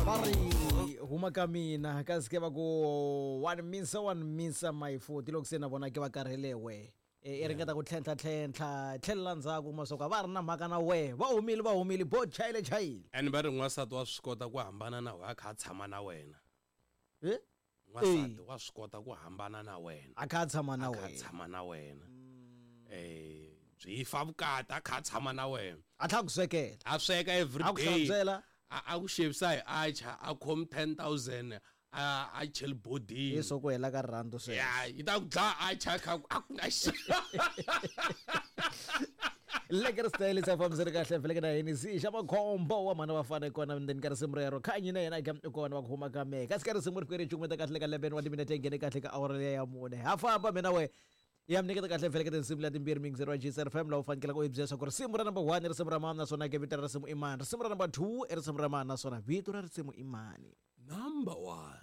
Va ri huma ka mina kasi ke va ku one misa one misa my foot loko se na vona ke va karhele we. E, i ringeta ku tlhentlha tlhentlha tlhelela ndzhaku kuma swa ku a va ri na mhaka na wehe va humile va humile bo chayile chayile. And va ri n'wansati wa swi kota ku hambana na wena a kha a tshama na wena. Eh? N'wansati wa swi kota ku hambana na wena. A kha a tshama na A kha a wena. tshama na wena. Eh byi fa vukati a kha a tshama na wena. A tlhela a ku swekela. A sweka every A ku day. hlantswela. A a ku xavisa hi atchar a khomi 10000 a a cheli bodini. Hi swo ku hela ka rirhandzu sweswo. Ya yi ta ku dlaya atchar kha ku a ku na xi. Leke ri style sa fambiseni kahle vhele na yini si xa makhombo wa mhana vafana i kona ndzeni ka risimu rero khanyi na yena i kona va ku huma ka mehe kasi ka risimu ri fike ri cukumeta kahle ka 11 wa timinete yi nghene kahle ka awara liya ya mune ha famba mina we ya mi nyiketa kahle vhele ka tinsimu leti timbirhi miyingiseri wa GCR FM laha u fanekelaka u yi byela leswaku risimu ra number 1 i risimu ra mani naswona ke vito ra risimu i mani risimu ra number 2 i risimu ra mani naswona vito ra risimu i mani Number 1.